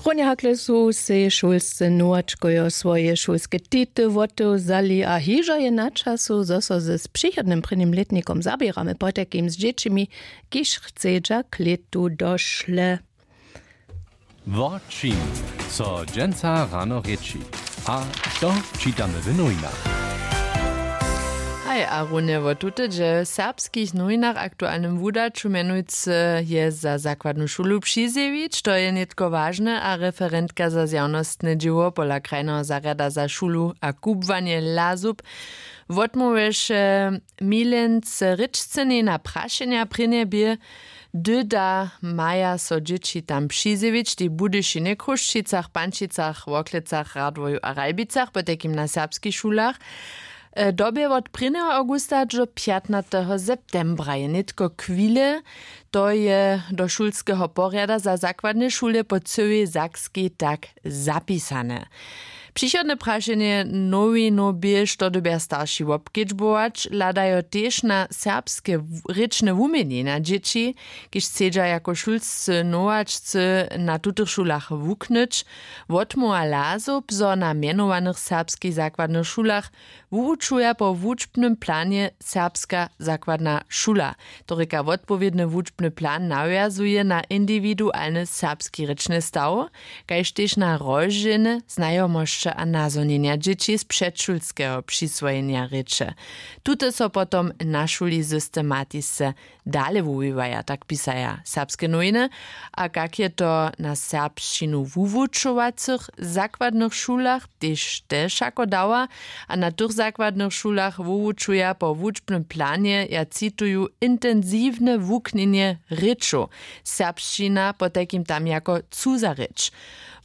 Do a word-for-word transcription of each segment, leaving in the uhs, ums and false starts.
Poněhakle su sej šulscy nowačkojo swoje šulske tity wotewzali a hižo je na času zo so z přichodnym prěnim lětnikom zaběramy potajkim z dźěćimi, kiž chcedźa k lětu došle. Wo čim so dźensa rano rěči a što čitamy w nowinach? Haj, a runje wo tute dźe w serbskich nowinach aktualnym wudaću mjenujcy je za zakładnu šulu přizjewić, to je nětko wažne a referentka za zjawnostne dźěło pola krajneho zarjada za šulu a kubłanje lasup wotmołwješe milenc rěčcenej na prašenja prěnje bě, hdy da maja so dźěći tam přizjewić tej w budyšinje chrósćicach pančicach worklecach radworju a ralbicach potajkim na serbskich šulach. Dobje wot prěnjeho awgusta do pjatnateho septembra je nětko chwile, to je do šulskeho porjada za zakładne šule po cyłej sakskej tak zapisane. Přichodne prašenje nowinow bě što dyrbja starši wobkedźbować hladajo tež na serbske rěčne wuměnjenja dźěći, kiž chcedźa jako šulscy nowačcy na tutych šulach wuknyć. Wotmołwa lasow bzo na mjenowanych serbskich zakładnych šulach wuwučuja po wučbnym planje serbska zakładna šula. To rěka wotpowědny wučbny plan nawjazuje na indiwidualny serbski rěčny staw, kaž tež na rozdźělne znajomosće a nazhonjenja dźěći z předšulskeho přiswojenja rěče. Tute so potom na šuli systematisce dale wuwiwaja tak pisaja serbske nowiny. A kak je to na serbšćinu wuwučowacych zakładnych šulach tež te wšako dała? A na tych zakładnych šulach wuwučuja po wučbnym planje ja cituju intensiwne wuknjenje rěčow. Serbšćina potajkim tam jako cuza rěč.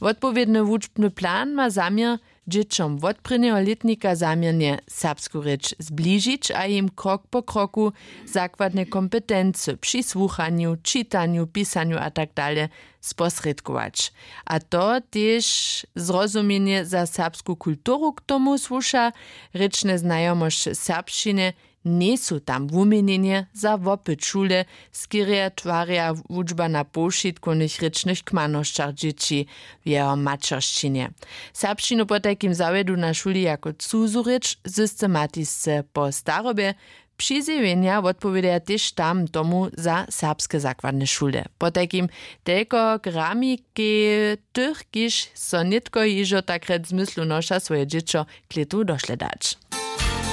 Wotpowědny wučbny plan ma zaměr dźěćom wot prěnjeho lětnika zaměrnje serbsku rěč zbližić a jim krok po kroku zakładne kompetency při słuchanju čitanju pisanju a tak dale sposrědkować. A to tež zrozumjenje za serbsku kulturu k tomu słuša. Rěčne znajomosće serbšćiny njejsu tam wuměnjenje za wopyt šule, skerje twarja wučba na powšitkownych rěčnych kmanosćach dźěći w jeho maćeršćinje. Serbšćinu potajkim zawjedu na šuli jako cuzu rěč systematisce po starobje. Přizjewjenja wotpowědaja tež tam tomu za serbske zakładne šule. Potajkim telko gramikej tych kiž so nětko hižo takrjec zmyslu noša swoje dźěćo k lětu došle dać.